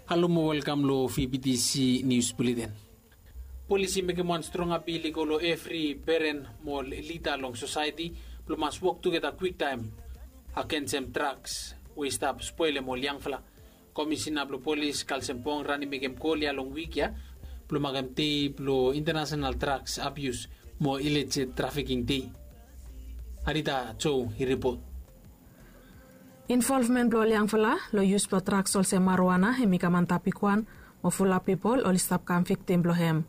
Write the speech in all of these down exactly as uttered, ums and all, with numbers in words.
Halo mo welkam long V B T C News Bulletin. Polis i mekem wan strong apil i go long evri peren mo lida long sosaeti blong mas wok tugeta kwiktaem agensem draks we i stap spolem ol yangfala. Komisina blong polis Kalsem Pongran i mekem gol ya long wik ya blong makem dei blong International Draks Abius mo Illicit Trafficking Dei. Arita Jo i ripot. Involvmen blong ol yangfala long yus blong draks olsem maruana hem i kam antap bigwan mo fulap pipol oli stap kam viktim blong hem.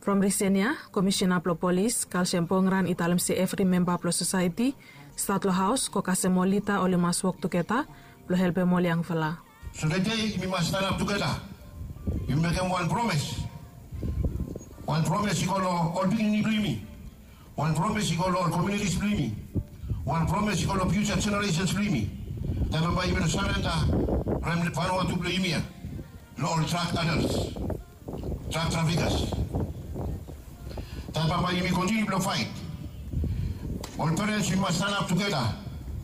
From risen ya, komisina blong polis Kalsem Pongran i talem se evri memba blong sosaeti stat long haos go kasem ol lida oli mas wok tugeta blong helpem ol yangfala. So tede yumi mas stanap tugeta. Yumi mekem wan promes. Wan promes i go long ol pikinini blong yumi. Wan promes i go long ol komunitis blong yumi. Wan promes i go long fiuja jeneresens blong yumi. Taem bambae yumi no sarenda rem Vanuatu blong yumi ya long ol drag adels, drag trafikas. Taem bambae yumi kontiniu blong faet. Ol perens yumi mas stanap tugeta.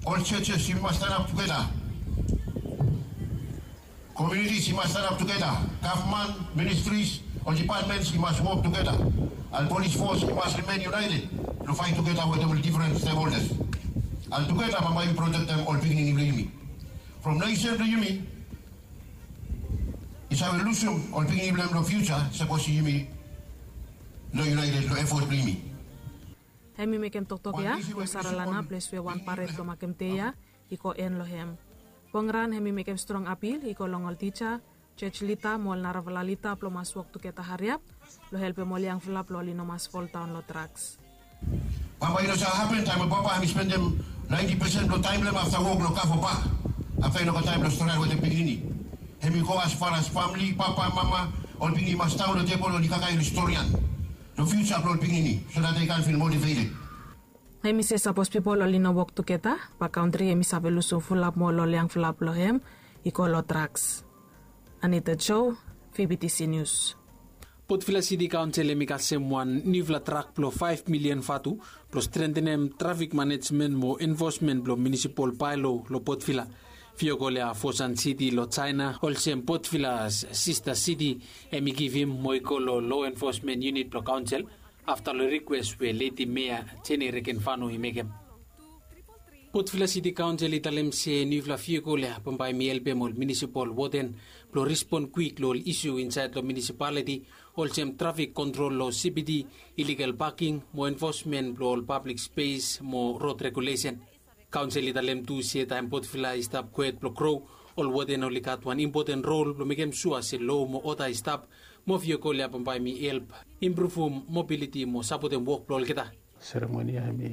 Ol jejes yumi mas stanap tugeta. Komunitis i mas stanap tugeta. Gavman, ministris, ol dipatmens i mas wok tugeta. And polis fos i mas rimen yunaeted blong faet tugeta wetem ol difren stekholdas. And tugeta bambae yumi protektem ol pikinini blong yumi. From nesen blong yumi i save lusum ol pikinini blong hem long fiuja sapos yumi no yunaeted long efot blong yumi. Hem i mekem toktok ya long Saralana, ples we wan paret blong makem dei ya i go en long hem. Pongran hem i mekem strong apil i go long ol tija, jos lida mo ol narafala lida blong mas wok tugeta hariap blong helpem ol yangfala blong oli no mas foldaon long draks. Papa i no save hapen taem we papa hem i spendem naenti pesen blong taem blong hem afta wok long kafo bak. Afta i no gat taem blong stret wetem pikinini. Hem i go as far as famili, papa, mama, ol pikinini i mas daon long tebol oli kakae oli storian long fiuja blong ol pikinini so dat dei kan fil motiveted. Hem i se sapos pipol oli no wok tugeta, bae kantri hem i save lusum fulap mo ol yangfala blong hem i go long draks. Anita Jo, V B T C Nius. Potvila Siti Kaonsel hem i kasem wan niufala drak blong faef milian vatu blong strentenem trafik manejmen mo enfosmen blong munisipol baelo long Potvila. Viokol ya Fosan Siti long Jaena olsem Potvilas sista siti hem i givim mo i go long lo enfosmen yunit blong kaonsel afta long rikwes we Ledi Mea Jeni Rekenvanu i mekem. Potvila Siti Kaonsel i talem se niufala viokol ya bambae hem i helpem ol munisipol woden blong rispon kwik long ol isu insaed long munisipaliti olsem trafik kontrol long C B D, iligal paking mo enfosmen blong ol pablik spes mo rod regulesen. Kaonsel i talem tu se taem Potvila i stap kwet blong gro, ol woden oli gat wan impoten rol blong mekem sua se lo mo oda i stap mo viokol ya bambae hem i help impruvum mobiliti mo sapotem wok blong olgeta. Seremoni ya hem i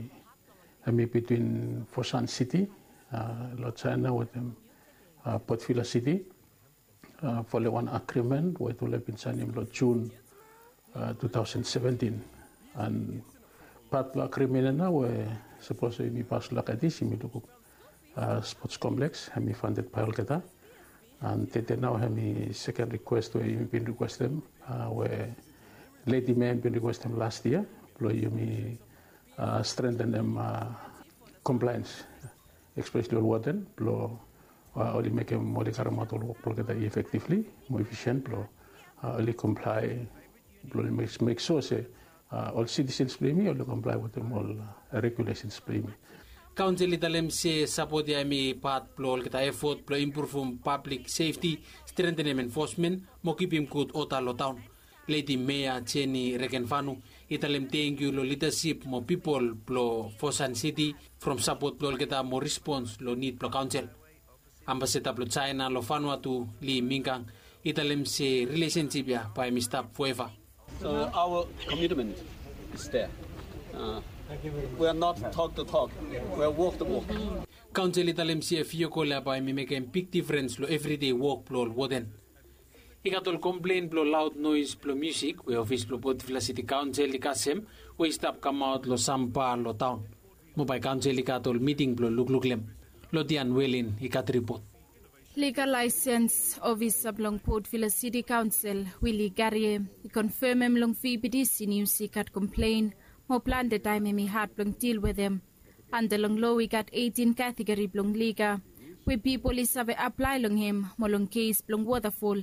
hem i bitwin Fosan Siti long Jaena wetem Potvila Siti. Folem wan agrimen we tufala i bin saenem long Jun tu taosen seventin. An pat blong agrimen ya nao we sapos yumi pas long Gadis yumi lukluk spots kompleks hem i fanded bae olgeta. An tede nao hem i seken rikwes we yumi bin rikwestem we Ledi Mea hem i bin rikwestem las yia blong yumi strentenem komplaens espeseli ol woden blong oli mekem oli karemaot ol wok blong olgeta efektivli mo efisien blong oli komplae blong oli mek sua se ol sitisens blong yumi oli komplae wetem ol regulesens blong yumi. Kaonsel i talem se sapot ya hem i pat blong olgeta efot blong impruvum pablik sefti, strentenem enfosmen mo kipim gud oda long taon. Ledi Mea Jeni Rekenvanu i talem tangkiu long lidasip mo pipol blong Fosan Siti from sapot blong olgeta mo rispons long nid blong kaonsel. Ambasada blong Jaena long Vanuatu, Li Mingang, i talem se rilesensip ya bae hem i stap foeva. So our commitment is there. We are not talk the talk, we are walk the walk. Kaonsel i talem se viokol ya bae hem i mekem big difrens long evridei wok blong ol woden. I gat ol komplen blong laod noes blong musik we ofis blong Potvila Siti Kaonsel i kasem we i stap kamaot long sam ba long taon. Mo bae kaonsel i gat ol miting blong lukluk long hem. Lodian Welin i gat ripot. Liga laesens ofisa blong Potvila Siti Kaonsel, Wili Garie, i konfemem long V B T C Nius i gat komplen mo plante taem hem i had blong dil wetem. Anda long lo i gat eitin kategori blong liga we pipol i save aplae long hem mo long kes blong wotafol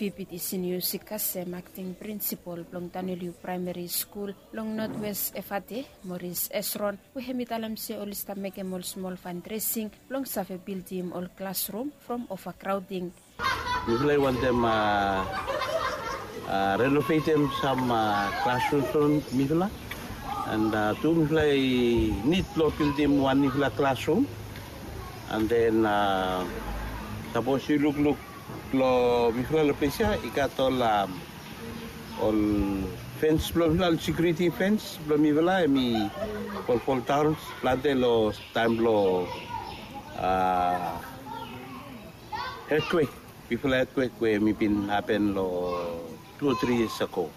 Pipiti sinius i kasem akting prinsipol blong Daniel U Praemeri Skul long Notwes Efate, Moris Esron, we hem i talem se oli stap mekem ol smol fandresing blong save bildim ol klasrum from ovakraoding. Mifala i wantem renovetem sam klasrums blong mifala, and tu mifala i nid blong bildim wan nifala klasrum. And then sapos yu lukluk long mifala long ples ya i gat ol ol fens blong mifala, ol sekuriti fens blong mifala, em i folfol daon plante long taem blong etkwek, bifala etkwek we em i bin hapen long tu o tri yias ago.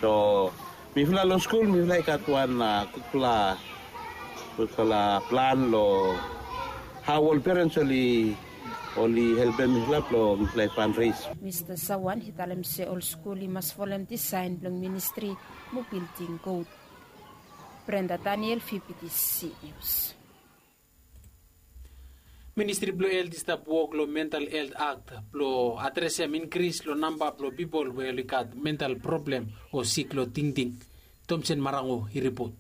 So mifala long skul mifala i gat wan gudfala gudfala plan long hao ol perens oli oli helpem mifala blong mifala i fandres. Mista Sawan i talem se ol skul i mas folem disaen blong ministri mo bilding god. Brenda Daniel, V P T C News. Ministri blong Helt i stap wok long Mental Helt Akt blong adresem inkris long namba blong pipol we oli gat mental problem o sik long tingting. Tomsen Marango i ripot.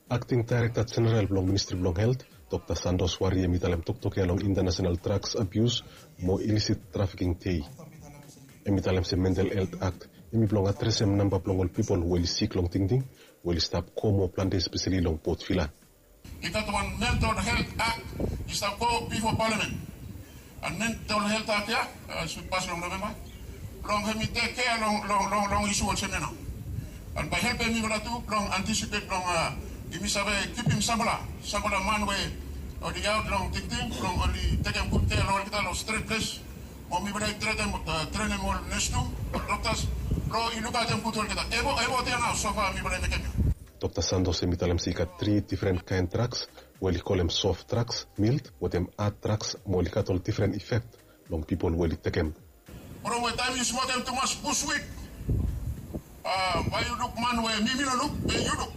Akting Daerekta Jeneral blong Ministri blong Helt, Dokta Santos Wari, hem i talem toktok ya long Intanasenal Draks Abius mo Ilisit Trafiking Dei. Hem i talem se Mental Helt Akt hem i blong adresem namba blong ol pipol we oli sik long tingting we oli stap go moa plante, espeseli long Port Vila. I gat wan mental helt akt i stap go bifo palamen. And mental helt akt ya i sud pas long Novemba blong hem i tek kea long long long long isu olsem ya nao. And bae helpem mifala tu blong antisipet blong yumi save kipim samfala samfala man we oli aot long tingting blong oli tekem gud kea long olgeta long stret ples. Mo mifala i tretem trenem ol nes tu, ol doktas blong i lukaotem gud olgeta. Evot evot ya nao sofa mifala i mekem ya. Dokta Santos hem i talem se i gat tri difren kaen draks we oli kolem sof draks, mild wetem had draks, mo oli gat ol difren ifek long pipol we oli tekem. From we taem yu smokem tumas buswik, bae yu luk man we mi mi no luk be yu luk.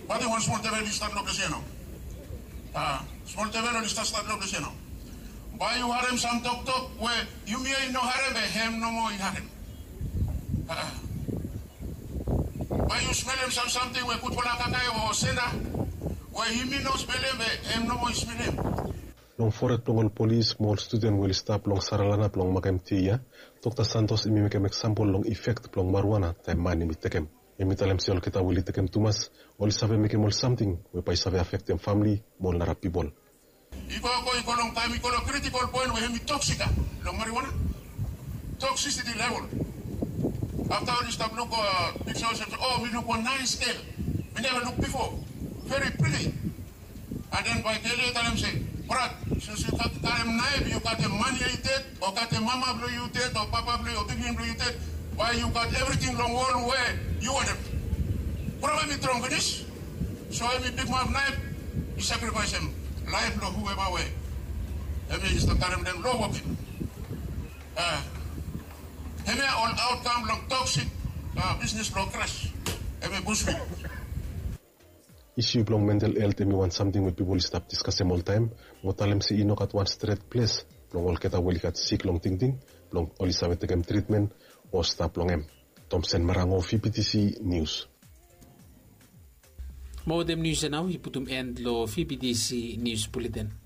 Bat wan smol devel i stat long ples ya nao. Smol devel oli stat stat long ples ya nao. Bae yu harem sam toktok we yumi ya i no harem be hem nomo i harem. Bae yu smelem sam samting we gudfala kakae o senda we yumi no smelem be hem nomo i smelem. Long foret blong ol polis mo ol studen we oli stap long saralana blong makem dei ya, Dokta Santos hem i mekem eksampol long ifek blong mariwana taem man hem i tekem. Hem i talem se olgeta we oli tekem tumas oli save mekem ol samting we bae i save afektem famle mo ol nara pipol. I go go i go long taem i go long kritikol poen we hem i toksik ya long mariwana. Toksisiti level. Afta oli stap luk piksa olsem se o mi luk wan naes gel mi neva luk bifo, veri priti. And then bae gel ya i talem se, brat, since yu gat karem naef yu gat em man ya i ded o gat em mama blong yu ded o papa blong yu o pikinini blong yu ded, bae yu gat evriting long wol we yu wantem. Bro, em i drong finis. So em i pikmap naef i sakrifaesem laef blong hueva we em i stap karem dem long wokim. Hemia ol aotkam blong toksik bisnis blong kras. Em i buswik. Isu blong mental helt em i wan samting we pipol i stap diskasem oltaem mo talem se i no gat wan stret ples blong olgeta we oli gat sik long tingting blong oli save tekem tritmen o stap long hem. Tomsen Marango, V P T C Nius. Mo wetem nius ya nao i putum en long V P T C Nius Buleten.